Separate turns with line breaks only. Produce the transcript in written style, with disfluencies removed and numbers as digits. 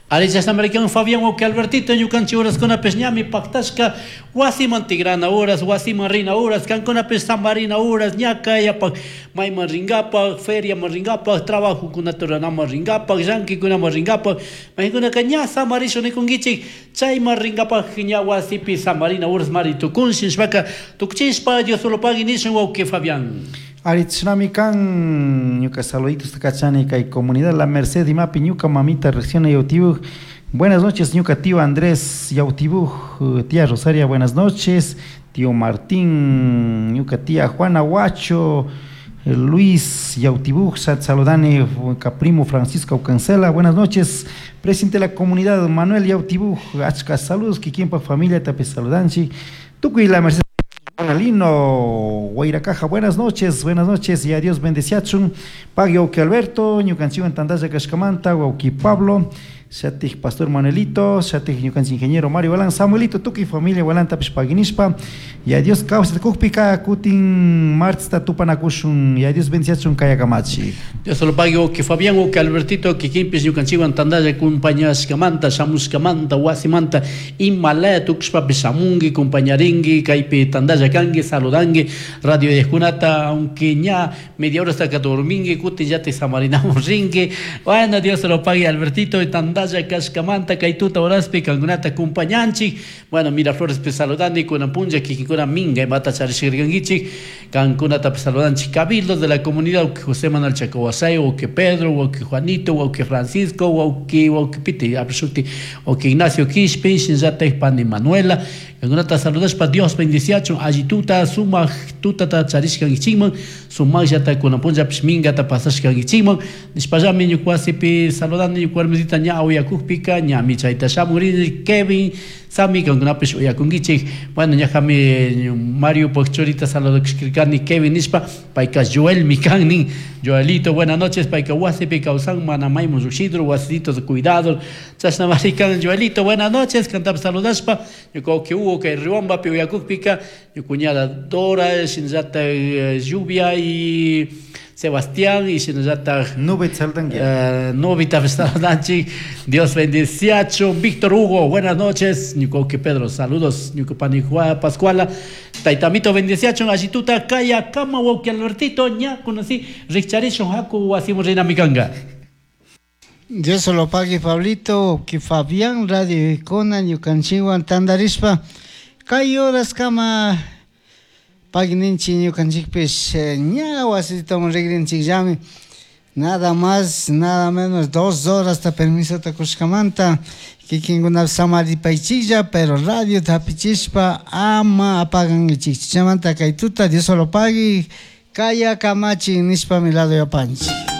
Ari chashnamarikan Fabián wawki Albertito ñukanchik horaskunapish ñami paktashka wasiman tigrana horas, wasiman rina horas, kankunapish samarina horas, ña kayapak mayman rinkapak, feriaman rinkapak, trabajokunata ruranaman rinkapak, llankikunaman rinkapak, maykunaka ña samarishun nikunkichik, chayman rinkapak ña wasipi samarina horas mari tukunshi nishpaka tukuchishpa Dios solo pagui nishun wawki Fabián.
Ari chashnami kan ñuka saluditos kachani kay comunidad La Merced imapi ñuka mamita recién Yautibuj. Buenas noches ñuka tío Andrés Yautibuj, tía Rosaria, buenas noches. Tío Martín, ñuka tía Juana Huacho, Luis Yautibuj, saludani primo Francisco Cancela, buenas noches. Presidente de la comunidad Manuel Yautibuj, achka saludos, kikinpa familia tapi saludanchi. Tukuy La Merced Lino, Guairacaja, buenas noches, buenas noches y a Dios bendeciachun. Pagui wawki Alberto, ñukanchikwan tantalla kashkamanta, wawki Pablo, Shatik Pastor Manuelito, Shatik ñukanchik ingeniero Mario Balán, Samuelito, tukuy familia Balantapish paginishpa, y a Dios kawsata kukpika kutin martsta tupanakushun, y a Dios bendeciachun kayakamachi.
Dios lo pague wawki Fabián, wawki Albertito, kikinpish ñukanchikwan tantalla compañashkamanta, shamushkamanta, wasimanta, imalaya tukushpapish shamunki, compañarinki, kaypi tantalla kanki, saludanki, radio kunata, aunque ña media hora hasta dorminki, kutin llatik samarinamun rinki. Bueno, Dios lo pague Albertito, tantalla kashkamanta, kay tuta horaspi kankunata compañanchik. Bueno, Miraflores pe saludani, kunan punlla kikinkuna minga imata charishirkankichik, kankunata saludanchik cabildos de la comunidad, wawki José Manuel Chacahuasay, wawki Pedro, wawki Juanito, wawki Francisco, wawki wawki Piti, apshuti, wawki Ignacio Quispe, shinallatak pani Manuela, kankunata saludashpa Dios bendiciachun, alli tuta, sumak tutata charishkankichikman, sumakllata kunan punllapish mingata pasashkankichikman, nishpallami ñuka wasipi saludani, ñuka warmisita ña uyakukpika, ñami chayta shamurini, Kevin, Sami, kankunapish uyakunkichik. Bueno, ñajami Mario churita saludakishkirkani Kevin nishpa, payka Joel kan nin. Joelito, buenas noches, payka wasipi kawsan, mana maymun llushidro, wasito de cuidado. Chashna marikan Joelito, buenas noches, kantapish saludashpa, ñuka wawki Hugo kay Riobambapi uyakukpika, ñuka cuñada Dora, shinallatak Lluvia y Sebastián y shinallatak
Nube saludanki.
Nubita saludanchik. Dios bendiciacho. Víctor Hugo, buenas noches. Ñuka wawki Pedro, saludos. Ñuka pani Pascuala. Taitamito bendiciacho. Allituta kaya kama wawki Albertito. Ña conocí. Richarishun haku wasimu rinamikanga.
Dios lo pague Pablito, que Fabián Radio Icona, ñukanchikwan tandarishpa kay horas kama pagninchi ñukanchikpish ña wasitoman rigrinchikllami. Nada más, nada menos, 2 horas ta permisota kushkamanta kikinkunapi samaripaychiklla, pero radio hapichishpa ama apagankichik. Chaymanta kay tuta Dios lo pague, kaya kamachi nishpa mi lado yapanchik.